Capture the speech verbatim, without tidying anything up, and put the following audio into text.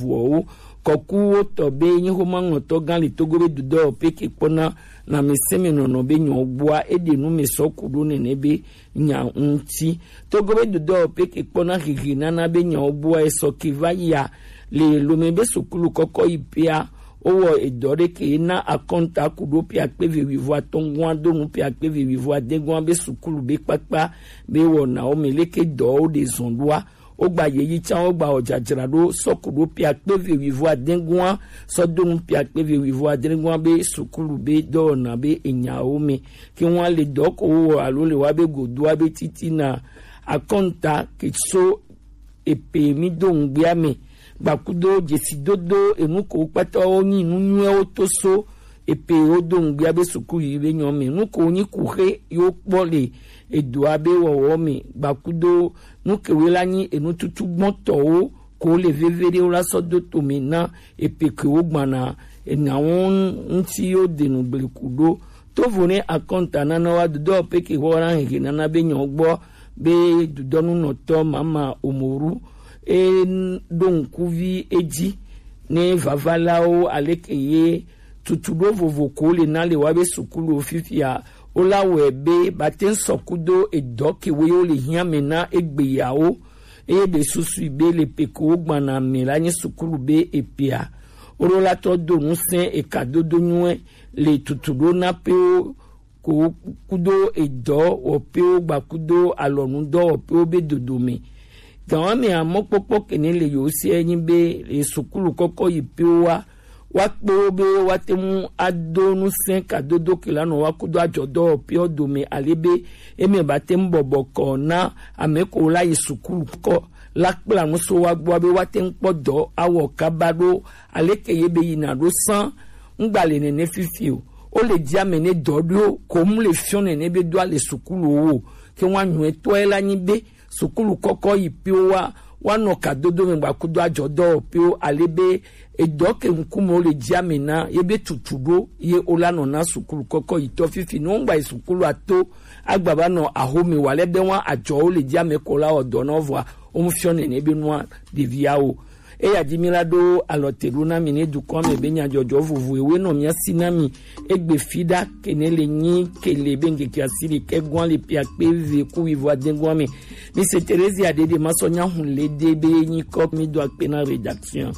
vuɔwo. Kɔkuwo tɔ be nyi xomaŋlɔtɔ gã le Togo be dudɔ peke kpɔna lãmesẽmenɔnɔ be nyɔ gbɔa, eɖe nu me sɔ ku ɖo nɛnɛ be nya ŋuti. Togo be dudɔ peke kpɔna hehe nana be nyawo gbɔa esɔ ke va yia le lome be sukulu kɔkɔ yi pea. Wowɔ edɔ ɖe ke na akɔnta ku ɖo pia kpe ve wivo atɔngua do nu pia kpe ve wivo adegua be sukulu be kpakpa be wɔnawo me leke dɔwo ɖe zɔn ɖoa. Wogba yeyi can wogba wɔ dzadzra ɖo sɔ ku ɖo pia kpe ve wivo adegua sɔ do nu pia kpe ve wivo adegua be sukulu be dɔwɔna be enyawo me. Ke ŋua le dɔ ko wowɔ alo le wa be godoa be titina akɔnta ke so epe mi do ŋgbea me gbakudo dzesidodo enu ko kpata wo nyi nu nyuiwo to so epe wo do ŋgbea be suku yi be nyɔ me nu ko nyi kuxe yo kpɔ le edoa be wɔwɔ me gbakudo nu kewe la nyi enututu gbɔtɔwo ko le veve ɖe wo la sɔ do tome na epe ke wo gbana enawo ŋuti yo denu bleku ɖo. Tovo ne akɔnta nana wa dodɔ pe ke xɔ na hehe nana be nyɔ gbɔ be dudɔnunɔtɔ mama omoru e ɖo ŋkuvi edzi ne vavalawo aleke ye tutuɖo vovo ko le na le wa be sukulu fifia wo la wɔe be bate ŋsɔ kudo edɔ ke wo ye wo le hiã me na egbeyawo eye ɖe susui be le pe ko wo gbana me la nye sukulu be epea. Wo ɖo la tɔ do ŋusẽ eka dodo nyuie le tutuɖo na pewo ko kudo edɔ wɔ pewo gba kudo alɔnu dɔ wɔ pewo be dodo me. Gan wa me amɔkpɔkpɔ kene le yo se nyi be le sukulu kɔkɔ yi pewo wa wa kpewo be wa te mu ado ŋusẽ ka dodo ke la nɔ wa kudo adzɔdɔ wɔ pewo dome ale be eme ba te mu bɔbɔ kɔ na ame ko la yi sukulu kɔ la kpla ŋusẽ wa gbɔ be wa te mu kpɔ dɔ awɔ kaba ɖo aleke ye be yina ɖo sã ŋgba le nene fifi o. Wo le dzi ame ne dɔ ɖo ko mu le fiɔ nene be do ale sukulu wo ke wa nyuɛ tɔe la nyi be sukulu kɔkɔ yi piwo wa wa nɔ ka dodo me gba kudo adzɔ dɔ piwo ale be edɔ ke ŋkume wo le dzi ame na ye be tutu ɖo ye wo la nɔ na sukulu kɔkɔ yi tɔ fifi no ŋgba yi sukulu ato agba ba nɔ ahome wa le be wa adzɔ wo le dzi ame ko la wɔ dɔ na vɔa wo mu fiɔ nene be nua ɖevia wo. Eya di mi la ɖo alɔ te ɖo na mi ne dukɔ me be nyadzɔdzɔ vovo ewe nɔ mia si na mi egbe fi ɖa kene le nyi kele be ŋkeke asi ɖekɛ gɔa le pia kpe ve ku wivo ade gɔa me. Mi se Teresia ɖeɖe ma sɔ nya hun le de be nyi kɔ mi do akpe na rédaction.